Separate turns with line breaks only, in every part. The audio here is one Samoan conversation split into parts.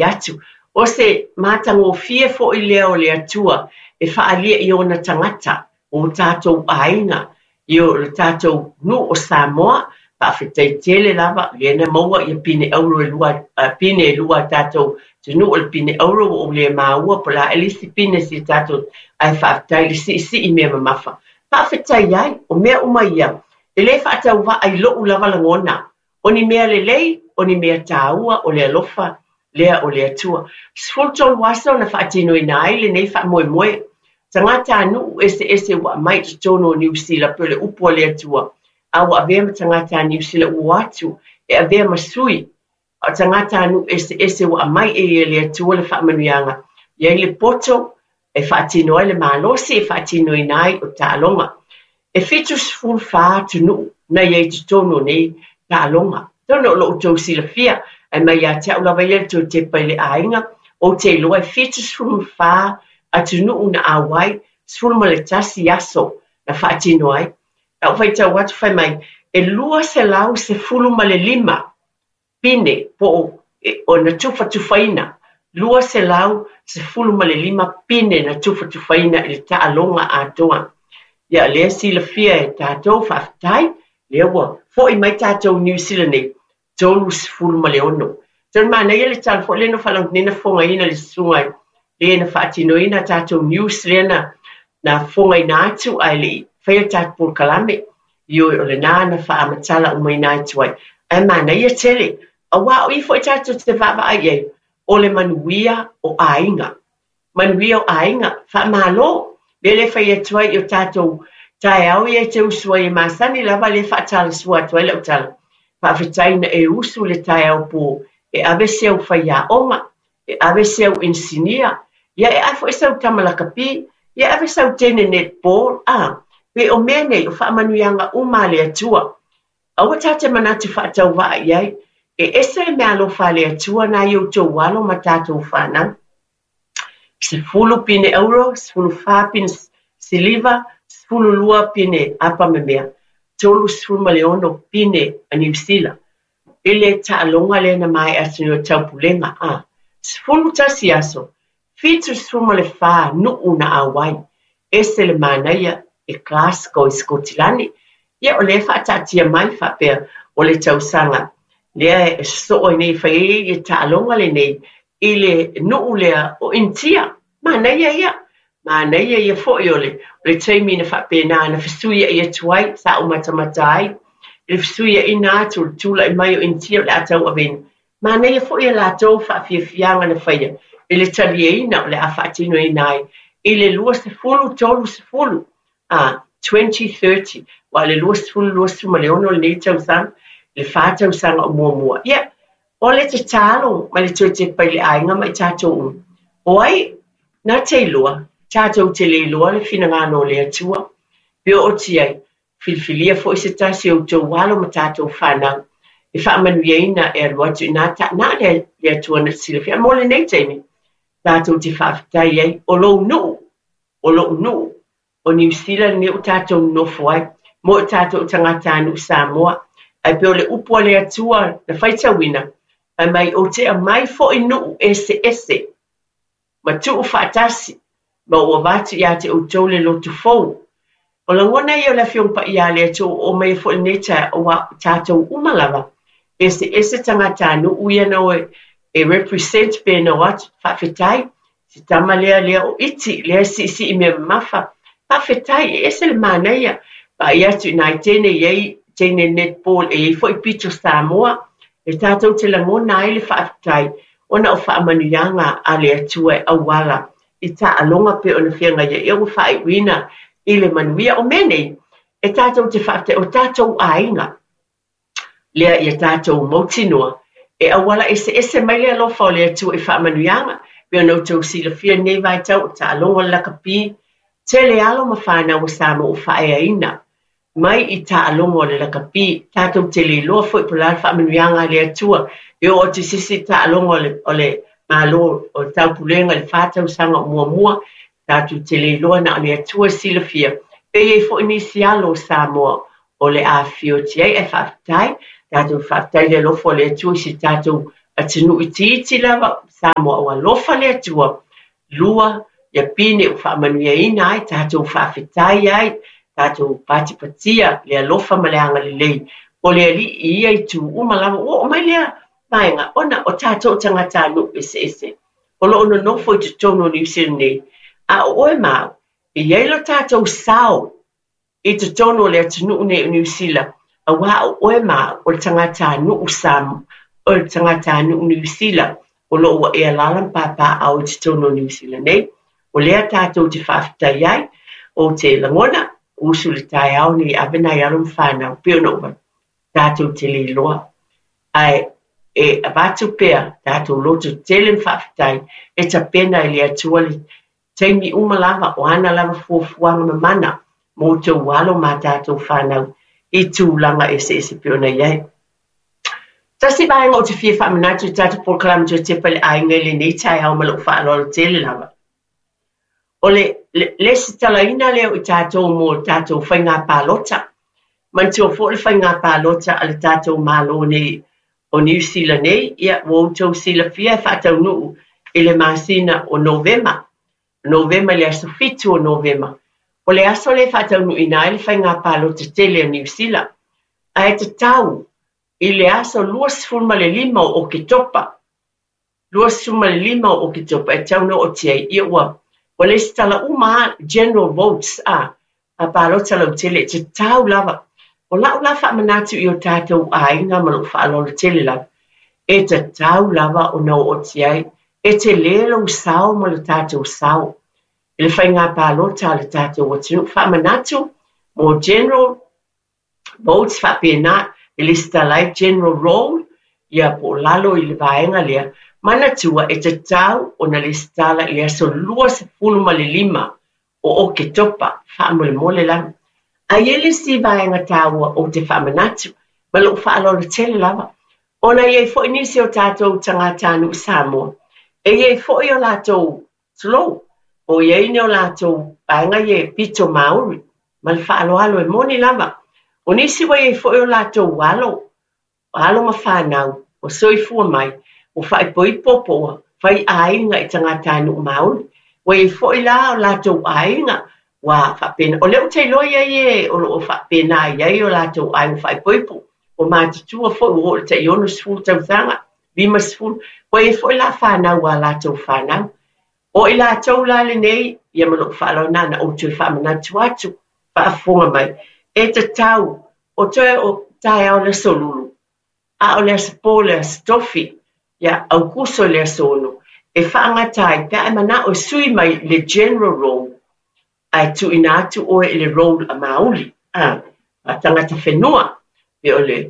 Atu. O se matagofie foi lea o le Atua e faaalia i ona tagata, o tatou aiga, i o le tatou nuu o Samoa. Faafetai tele lava, lea na maua ia pine auro e lua, pine e lua a tatou atunuu, o le pine auro ua ou le maua po o le a le isi pine si tatou, ae faafetai i le siisii mea mamafa. Faafetai ai, o mea uma ia, e le faatauvaa i lou lava lagona. O ni mea lelei, o ni mea taua, o le alofa lea o le Atua. 13 aso na faatinoina ai lenei faamoemoe. Tagatanuu eseese ua aumai i totonu o Niu Sila pei o le upu a le Atua, a ua avea ma tagata Niu Sila ua o atu e avea ma sui. A o tagatanuu eseese ua aumai e le Atua le faamanuiaga, i ai le poto e faatino ai le malosi e faatinoina ai o taaloga. E 74 atunuu na i ai i totonu o nei taaloga. Atonu o lo o outou silafia, ae mai ia te au lava ia le toe tepa i le aiga, ou te iloa e 74 atunuu na auai, 11 aso na faatino ai. Lau faitau atu fai mai, e 215 pine po o na tufatufaina, 215 pine na tufatufaina i le taaloga atoa. Ia lea silafia e tatou, faafetai, lea ua foi mai tatou Niu Sila nei, 36. Tonu manaia le tala foi lea na faalogo nei na fofogaina le susuga lea na faatinoina tatou news lea na fofogaina atu ae le i faia le tatou polokalame. Ioe, o lena na faamatala umaina atu ai. Ae manaia tele, aua o i foi tatou te vaavaai i ai, o le manuia o aiga. Manuia o aiga, faamalo. Lea le fai atu ai i o tatou taeao ia e te usu ai e masani lava le faatalasua atu ai lau tala. Faafetai na e usu le taeao po e ave se au faiaoga, e ave se au inisinia, ia e ave foi sau tama lakapi, ia e ave sau teine netball, a. Pe o mea nei o faamanuiaga uma a le Atua. Aua tatou te manatu faatauvaa i ai, e ese le meaalofa a le Atua na i outou alo ma tatou fanau. 10 pine auro, 14 pine siliva, 12 pine apamemea, 36 pine a Niu Sila. I le taaloga lea na maea atu nei o Taupulega, a. 11 aso, 74 nuu na auai. Ese le manaia e Glasgow i Sikotilani. Ia o lea faataatia mai faapea o le tausaga lea e sosoo ai nei e fai ai le taaloga lenei i le nuu lea o Initia. Manaia ia. Manaia ia foi o le taimi na faapena na fesuiai atu ai, sa ou matamata ai, i le fesuiaiga atu o le tulai mai o Initia o le a tauaveina. Manaia foi a latou faafiafiaga na faia i le talieina o le a faatinoina ai i le 2030, a 2030, aua o le 2026 lenei tausaga, le 4 tausaga o muamua. Ia, o le tatalo ma le toe tepa i le aiga ma i tatou uma. O ai na te iloa, tatou te le iloa le finagalo o le Atua. Pe oo atu ai, filifilia foi se tasi o outou alo ma tatou fanau e faamanuiaina e alu atu i na na le Atua na te silafia. Mo lenei taimi, tatou te faafetai ai, o lou nuu, o lou nuu, o Niu Sila lenei ua tatou nonofo ai, mo i tatou tagatanuu Samoa. Ae pei o le upu a le Atua na faitauina, fai mai ou te aumai foi nuu eseese ma tuu faatasi, ma ua avatu ia te outou le loto fou. O lagona ia o le Afioga Paia a le Atua ua oo mai ai foi lenei taeao, aua tatou uma lava, eseese tagatanuu ia na o e represent pe na o atu, faafetai. Se tama lea lea o iti, lea siisii mea mamafa. Faafetai, e ese le manaia. Vaai atu i nai teine i ai, teine netball, e i ai foi pito Samoa. E tatou te lagona ai le faafetai, ona o faamanuiaga a le Atua e auala i taaloga pe ona feagai ai. Ia ua faaiuina i le manuia. O mea nei, e tatou te faafetai, o tatou aiga. Lea ia tatou mautinoa, e auala eseese mai le alofa o le Atua i faamanuiaga. Pe ona outou silafia lenei vaitau o taaloga o le lakapi, tele alo ma fanau o Samoa ua faaeaina mai i taaloga o le lakapi. Tatou te le iloa foi po o le a le faamanuiaga a le Atua e oo atu i se isi taaloga o le Malo o le Taupulega i le 4 tausaga o muamua. Tatou te le iloa na o le Atua silafia. Pe i ai foi nisi alo o Samoa o le afifio atu ai, ae faafetai. Tatou faafetai le alofa o le Atua i si tatou atunuu itiiti lava. Samoa ua alofa le Atua, lua ia pine ua faamanuiaina ai tatou faafetai ai, tatou patipatia le alofa ma le agalelei o le Alii i ia itu uma lava. Ua oo mai lea vaega ona o tatou tagatanuu eseese o lo o nonofo i totonu o Niu Sila nei, a o oe ma au, e i ai lo tatou sao i totonu o le atunuu nei o Niu Sila, aua o oe ma au o le tagatanuu Samoa, o le tagatanuu Niu Sila o lo o ua e alaala ma papaaao i totonu o Niu Sila nei. O lea tatou te faafetai ai, ou te lagona, usu i le taeao nei e ave nai alo ma fanau, pei ona ou avatu, tatou te le iloa. Ae e avatu pea tatou loto tele ma faafetai e tapena e le Atua le taimi uma lava o ana lava fuafuaga mamana mo outou alo ma a tatou fanau i tulaga eseese pei ona i ai. Tasi vaega ou te fia faamanatu i tatou polokalame toe tepa i le aiga i lenei taeao ma lou faaaloalo tele lava. O le lesitalaina lea o i tatou mo tatou faiga palota. Manatua foi le faiga palota a le tatou Malo nei o Niu Sila nei, ia, ua outou silafia e faataunuu i le masina o Novema, Novema i le aso 7 o Novema. O le aso lea e faataunuuina ai le faiga palota tele a Niu Sila. Ae tatau i le aso 25 o Oketopa, 25 o Oketopa e tatau ona ootia ai, ia ua ua lesitala uma lava general votes a, a palota lautele, e tatau lava. O lau la faamanatu i o tatou aiga ma lou faaaloalo tele lava, e tatau lava ona ootia ai, e tele lou sao ma lo tatou sao i le faiga palota a le tatou atunuu. Faamanatu mo general votes faapena e lesitala ai general roll ia po o lalo i le vaega lea, manatua e tatau ona lesitala i le aso 25 o Oketopa, faamolemole lava. Ae i ai le isi vaega taua ou te faamanatu, ma lou faaaloalo tele lava, ona e i ai foi nisi o tatou tagatanuu Samoa, e i ai foi o latou Tulou, o i ai ni o latou vaega ia e pito Māori, ma le faaaloalo e moni lava. O nisi ua i ai foi o latou alo, alo ma fanau, ua soifua mai, ua faaipoipo po ua fai aiga i tagatanuu Māori. Ua i ai foi la o latou aiga ua faapena. O lea ou te iloa i ai e o lo o faapena i ai o latou aiga faaipoipo, ua matutua foi ua oo i le tai 60 tausaga, 50, ua i ai foi la fanau a latou fanau. O i latou la lenei, ia ma lou faaaloalo na ona ou toe faamanatu atu, faafofoga mai, e tatau, o toe o taeao le aso Lulu, a o le aso Po le aso Tofi, ia Aukuso i le aso 6, e faagata ai pe a e manao e sui mai le general roll, ae tuuina atu oe i le roll a Māori, a, a tagata whenua, pe o le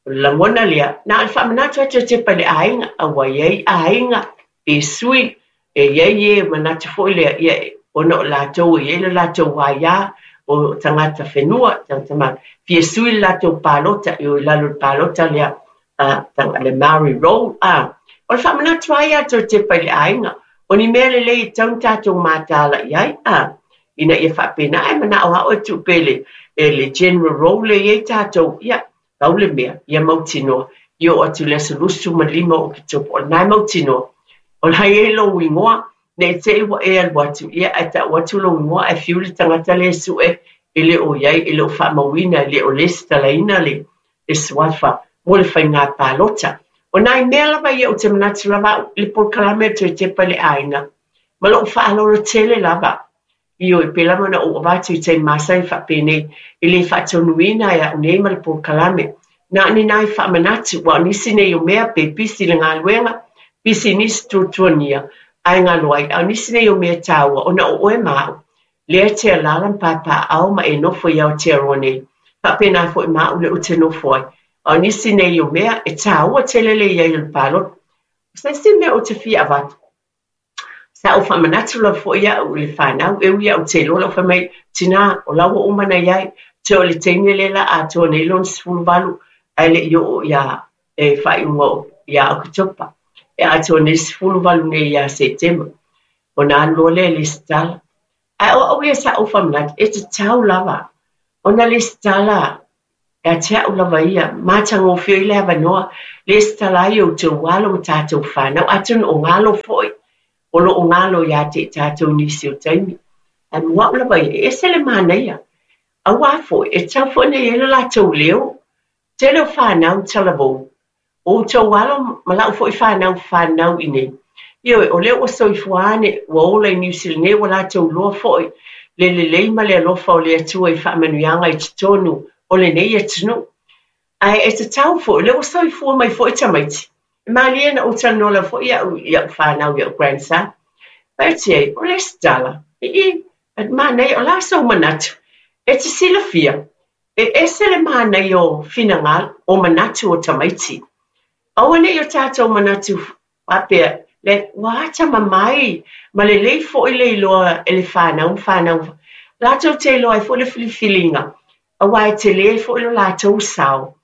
O le lagona lea, na o le faamanatu atu e tepa i le aiga, a ua i ai aiga pe sui, e i ai e manatu foi lea, ia, ona o latou e i ai le latou aia, o tagata whenua, tagata Māori, fia sui le latou palota, e o i lalo i le palota lea, a, le Māori roll, a. O le faamanatu lava ia atu e tepa i le aiga, o ni mea lelei e tatau ona tatou mataala i ai, a, ina ia faapena, ae manao lava oe e tuu pea i le general roll lea e i ai tatou, ia, Pau le mea, ia mautinoa, i oo atu i le aso 25 o Oketopa, o lena e mautinoa, o la e i ai lou igoa, ne i te i ua e alu atu, ia ae tau atu lou igoa ae fiu le tagata lea e sue e le o i ai, e le o faamauina, e le o lesitalaina le le suafa mo le faiga palota. O nai mea lava ia ou te manatu lava au i le polokalame o toe tepa i le aiga, ma lou faaaloalo tele lava. Ioe, pei lava ona ou avatu i taimi masani faapenei, e le faatonuina e au nei ma le polokalame. Na o ni nai faamanatu, aua o nisi nei o mea pe pisi i le galuega, pisi i nisi tuatuania, ae galo ai, a o nisi nei o mea taua, ona o oe ma au, lea e te alaala ma papaaao ma e nofo i Aotearoa nei, faapena foi ma au lea ou te nofo ai. A o nisi nei o mea, e taua tele le i ai o le palota. O se isi mea ou te fia avatu, Sa ou faamanatu lava foi au i le fanau, e ui lava ou te iloa lou fai mai, Tina, o la ua uma ona i ai, toe o le teine lea la atoa nei lona 18 ae le i oo ia e faaiuga ia Oketopa. E atoa nei le 18 nei ia Setema, ona alu loa lea e lesitala. Ae o au ia sa ou faamanatu, e tatau lava ona lesitala. Ia te au lava ia, matagofie ai le avanoa, lesitala ai outou alo ma tatou fanau, atonu o galo foi, o lo o galo ia te i tatou i nisi o taimi. Ae mo au lava ia, e ese le manaia. Aua foi, e tatau foi ona i ai lo latou leo. Tele o fanau talavou, o outou alo ma lau foi fanau fanau i inei. Ioe, o lea ua soifua ane, ua ola i Niu Sila nei, ua latou iloa foi le lelei ma le alofa o le Atua i faamanuiaga i totonu o lenei atunuu. Ae e tatau foi, o lea ua soifua mai foi tamaiti. E malie na ou talanoa lava foi au i au fanau, i au grandson. Fai atu i ai, o le isi tala, ii, manaia, o le a sou manatu? E te silafia, E ese le manaia o finagalo, o manatu o tamaiti. Aua ne i o tatou manatu faapea, le, ua atamamai ma lelei foi le iloa e le fanau ma fanau latou te iloa ai foi le filifiliga, aua e tele foi lo latou sao.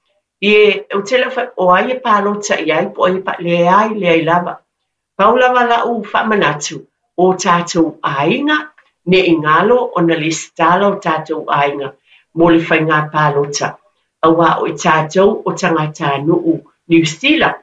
Ie, ou te le o fai, o ai e palota i ai po o ai e pa, leai, leai lava. Pau lava lau faamanatu, o tatou aiga, ne i galo ona lesitala o tatou aiga mo le faigā palota, aua o i tatou o tagatanuu Niu Sila,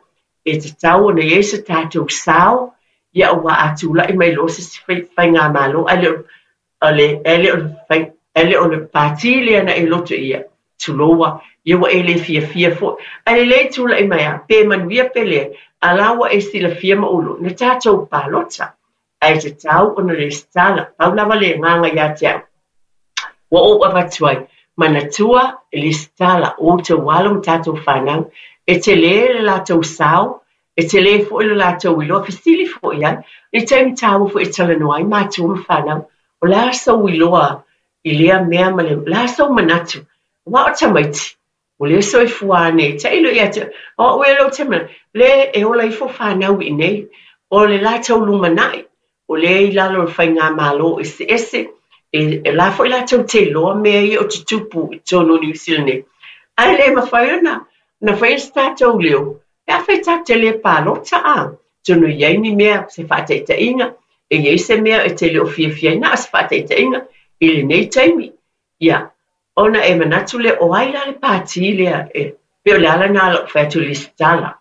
e tatau ona i ai se tatou sao, ia aua a tulai mai loa se isi faigamalo ae le o le, e le o le, e le o le pātī lea na e loto ia, tuloua, ia ua e le fiafia foi. Ae lelei tulai mai a, pe manuia pe leai, a la ua e silafia ma ulu, na tatou palota. Ae tatau ona lesitala, pau lava le agaga ia te au. Ua ou avatu ai, manatua e lesitala outou alo ma tatou fanau, e tele le latou sao, E tele foi lo latou iloa, fesili foi ai, i taimi taua foi e talanoa ai matua ma fanau, o le a sou iloa i lea mea ma le, o le a sou manatu? Aua o tamaiti, o lea soifua ane, tailo ia te, o au ia lea ou te manatu, le e ola ifo fanau i inei, o le latou lumanai, o lea i lalo o le faigamalo eseese, e la foi latou te iloa mea ia o tutupu i totonu o Niu Sila nei. Ae le mafai ona na faia se tatou leo, pe afai tatou te le palota a, atonu e i ai ni mea, se faataitaiga, e i ai se mea e te le o fiafia ai, na o se faataitaiga i lenei taimi. Ia, ona e manatu lea, o ai la le pātī lea e, pei o le ala lena o lou fai atu i le lesitala,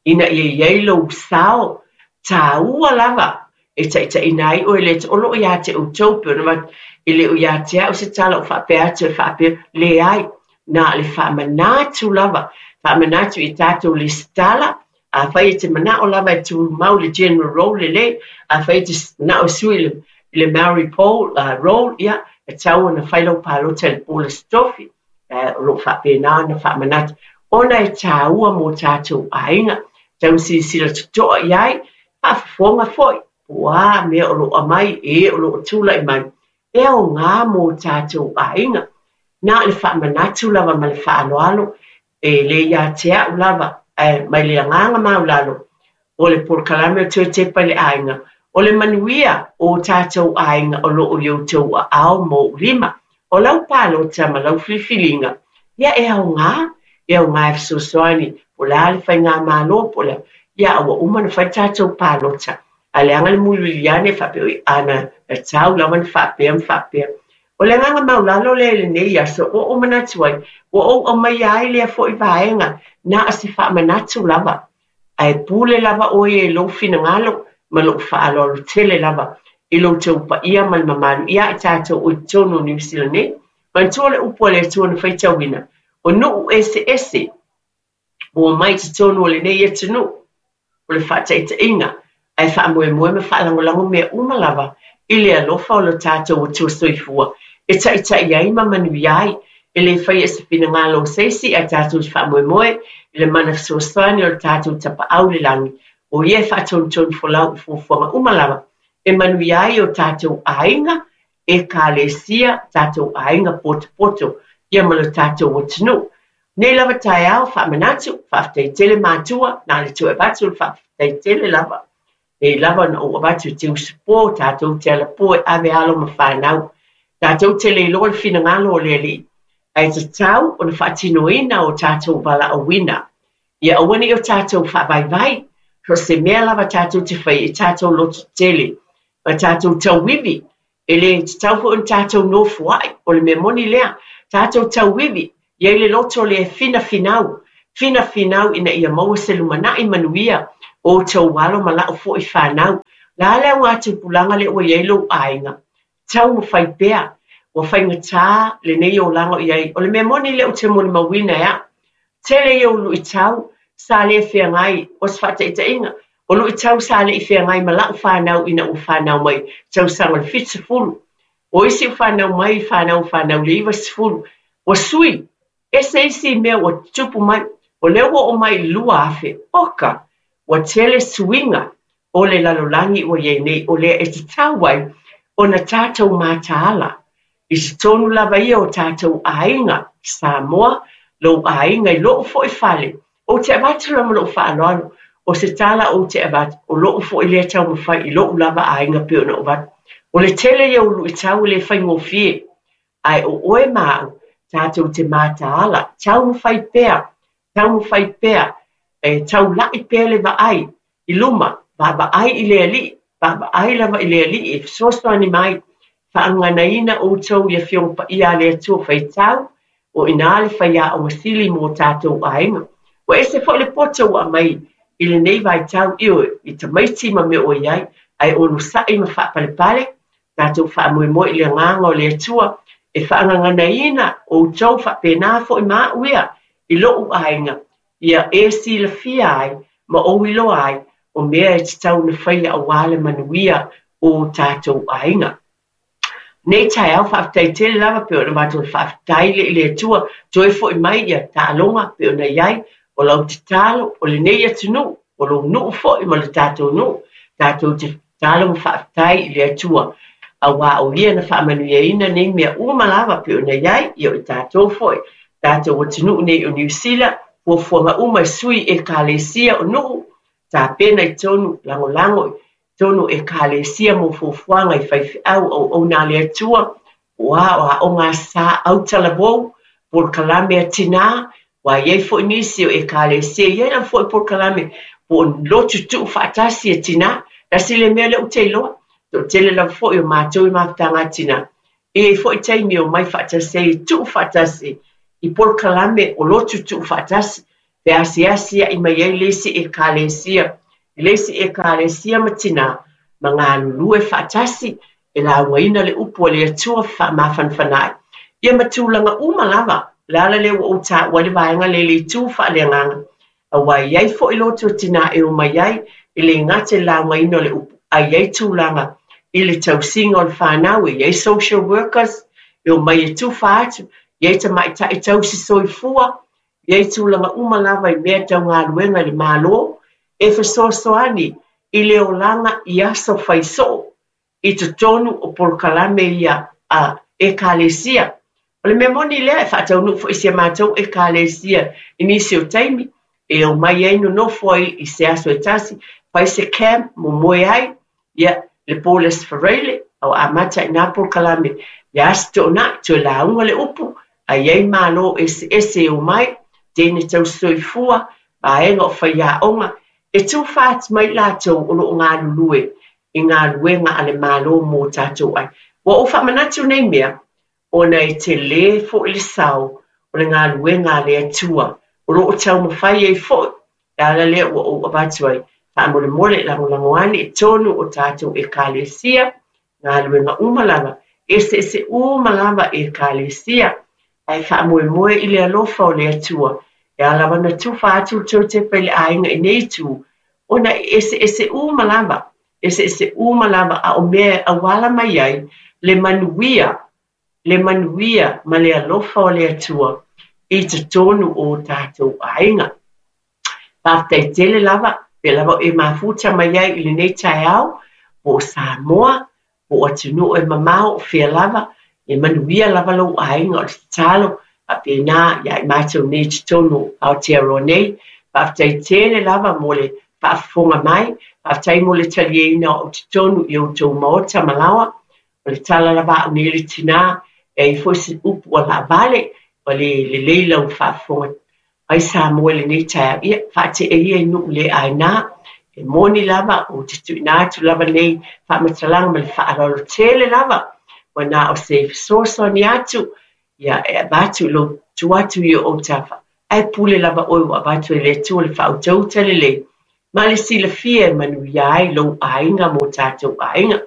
ina ia i ai lou sao taua lava e taitaiina ai oe le o lo o ia te outou, pei ona avatu, e le o ia te au se tala o faapea atu e faapea, leai, na o le faamanatu lava, faamanatu i tatou lesitala, afai e te manao lava e tumau le general roll lelei, afai e te manao e sui i le Maori poll, roll, ia, e tatau ona fai lau palota i le po o le Aso Tofi, o lo o faapena ona faamanatu, ona e taua mo tatou aiga, tatau ona silasila totoa i ai, faafofoga foi, po o a mea o lo o aumai, e o lo o tulai mai, e aoga mo tatou aiga. Na o le faamanatu lava ma le faaaloalo, E le ia te au lava, ae mai le agaga maulalo o le polokalame o Toe Tepa i le Aiga, o le manuia o tatou aiga o lo o i outou aao ma ou lima. O lau palota ma lau filifiliga, ia e aoga, e aoga e fesoasoani, po o le a le faigamalo, po o le a, ia a ua uma ona fai tatou palota. Ae leaga le mulimuliai ane faapea, oi, a na tatau lava ona faapea ma faapea. O le agaga maulalo lea i lenei aso, ua ou manatu ai, ua ou aumaia ai lea foi vaega, na o se faamanatu lava, ae pule lava oe ia i lou finagalo ma lou faaaloalo tele lava i lo outou paia ma le mamalu ia i tatou o i totonu o Niu Sila nei. Manatua le upu a le Atua na faitauina, o nuu eseese ua omai i totonu o lenei atunuu, o le faataitaiga, ae faamoemoe ma faalagolago mea uma lava i le alofa o lo tatou Atua Soifua e taitai ai ma manuia ai. E le faia i se finagalo o se isi, ae tatou te faamoemoe i le mana fesoasoani o le tatou Tapaau i le Lagi, o Ia e faatonutonu folau i fuafuaga uma lava e manuia ai o tatou aiga, Ekalesia, tatou aiga potopoto, ia ma lo tatou atunuu. Nei lava taeao faamanatu, faafetai tele matua, na le toe avatu le faafetai tele lava. Nei lava na ou avatu i te usupo, tatou te alapo e ave alo ma fanau. Tatou te le iloa le finagalo o le Alii, ae tatau ona faatinoina o tatou valaauina. Ia aua ne i o tatou faavaivai, so o se mea lava tatou te faia i tatou loto tele, ma tatou tauivi, e le tatau foi ona tatou nofoai, o le mea moni lea, tatou tauivi. I ai le loto lea e finafinau, finafinau ina ia maua se lumanai manuia o outou alo ma lau foi fanau. O le a le augatupulaga lea ua i ai lou aiga? Taumafai pea. Ua faigata lenei olaga o i ai. O le mea moni lea ou te molimauina e au, tele ia o luitau sa le feagai, o se faataitaiga, o luitau sa le i feagai ma lau fanau ina ua fanau mai tausaga o le 70. O isi ua fanau mai, fanau fanau i le 90. Ua sui, ese isi mea ua tutupu mai. O lea ua oo mai i le 2000, oka, ua tele suiga o le lalolagi ua i ai nei, o lea e tatau ai ona tatou mataala i totonu lava ia o tatou aiga, Samoa, lou aiga i lou foi fale. Ou te avatu lava ma lou faaaloalo, o se tala ou te avatu, o lou foi lea taumafai i lou lava aiga pei ona ou avatu. O le tele ia o luitau e le faigofie, ae o oe ma au, tatou te mataala, taumafai pea, taumafai pea, e taulai pea le vaai i luma, vaavaai i le Alii, vaavaai lava i le Alii e fesoasoani mai, faagaganaina outou i Afioga Paia a le Atua faitau, o i ina le faiaoga sili mo tatou aiga. Ua ese foi le poto ua aumai i lenei vaitau, ioe, i tamaiti ma mea ua i ai, ae onosai ma faapalepale, tatou faamoemoe i le agaga o le Atua e faagaganaina outou faapena foi ma au ia i lou aiga, ia e silafia ai ma ou iloa ai o mea e tatau ona faia aua le manuia o tatou aiga. Nei taeao faafetai tele lava pei ona matou faafetai le i le Atua toe foi mai ia taaloga pei ona i ai o lau tatalo o lenei atunuu o lou nuu foi ma le tatou nuu tatou te tatalo ma faafetai i le Atua aua o ia na faamanuiaina nei mea uma lava pei ona i ai ia o i tatou foi tatou atunuu nei o Niu Sila fuafuaga uma e sui ekalesia o nuu tapena i tonu lagolago tonu ekalesia mo fuafuaga i faifeau auauna a le Atua po o a o aoga sa autalavou polokalame a tinā aua e i ai foi nisi o ekalesia e i ai lava foi polokalame po o lotu tuufaatasi a tinā. Tasi le mea lea ou te iloa, toatele lava foi o matou i mafutaga a tinā, e i ai foi taimi e omai faatasi ai e tuufaatasi i polokalame o lotu tuufaatasi, pe asiasi mai ai le isi ekalesia i le isi ekalesia ma tinā ma galulue faatasi e laugaina le upu a le Atua faamafanafana ai. Ia ma tulaga uma lava, o le ala lea ua ou taua ai le vaega lea i le itu faaleagaga, aua e i ai foi lotu a tinā e omai ai, e le gata i le laugaina o le upu, ae i ai tulaga i le tausiga o le fanau, e i ai social workers e omai e tufa atu, e i ai tamaitai tausi soifua, e i ai tulaga uma lava i mea tau galuega i le Malo, e fesoasoani i le olaga i aso fai soo i totonu o polokalame ia a ekalesia. O le mea moni lea e faataunuu foi i si a matou ekalesia i nisi o taimi e omai ai nonofo ai i se aso e tasi, fai se camp momoe ai, ia le po le Aso Faraile, a ua amata i nā polokalame i Aso Toonai, toe lauga le upu, a i ai malo eseese e omai, teine tausisoifua, vaega o faiaoga, e tufa atu mai latou o lo o galulue i galuega a le Malo mo tatou ai. Ua ou faamanatu nei mea, ona e tele foi le sao o le galuega a le Atua o lo o taumafai ai foi, le ala lea ua ou avatu ai, faamolemole lagolago ane i totonu o tatou ekalesia, galuega uma lava, eseese uma lava ekalesia, ae faamoemoe i le alofa o le Atua, e ala lava ona tufa atu le tou tepa i le aiga i nei itu, ona e eseese uma lava, eseese uma lava, a o mea e auala mai ai le manuia, le manuia ma le alofa o le Atua i totonu o tatou aiga. Faafetai tele lava, pea lava o e mafuta mai ai i lenei taeao, po o Samoa, po o atunuu e mamao, o fea lava, e manuia lava lou aiga. O le tatalo faapena ia i matou nei i totonu o Aotearoa nei. Faafetai tele lava mo le faafofoga mai, faafetai mo le taliaina o au totonu i outou maota ma laoa. O le tala lava a au nei le tinā, e ai foi se upu ua laavale, ua le lelei lau faafofoga mai Samoa i lenei taeao, ia faatea ia i nuu le aina. E moni lava, ou te tuuina atu lava nei faamatalaga ma le faaaloalo tele lava, ua na o se fesoasoani atu, ia e avatu i lou Tuu atu i ou autafa, ae pule lava oe ua avatu e le Atua le faautauta lelei ma le silafia e manuia ai lou aiga ma o tatou aiga.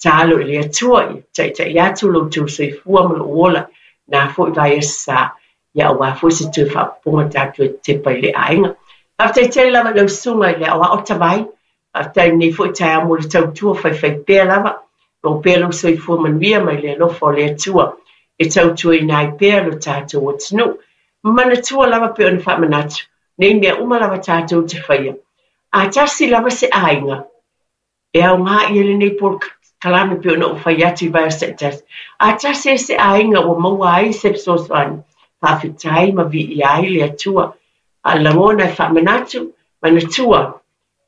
Tatalo i le Atua ia taitai atu lo outou soifua ma lou ola i na foi vaiaso sa, ia aua foi se toe faaopoopoga tatou e tepa i le aiga. Faafetai tele lava i lau susuga i le Aoao Tavai. Faafetai i lenei foi taeao mo le tautua faifaipea lava. Maua pea lou soifua manuia mai le alofa o le Atua e tautuaina ai pea lo tatou atunuu. Manatua lava pei ona faamanatu, nei mea uma lava tatou te faia. A tasi lava se aiga, e aoga i ai lenei polokalame pei ona ou fai atu i vaiaso taitasi. A tasi ai se aiga ua maua ai se fesoasoani, faafetai ma viia ai le Atua. A o le lagona e faamanatu, manatua,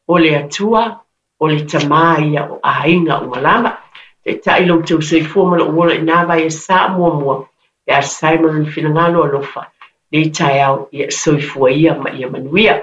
o le Atua, o le Tama ia o aiga uma lava. Taitai lo outou soifua ma lou ola i na vaiaso sa muamua, pe a sai ma lona finagalo alofa, nei taeao ia soifua ia ma ia manuia.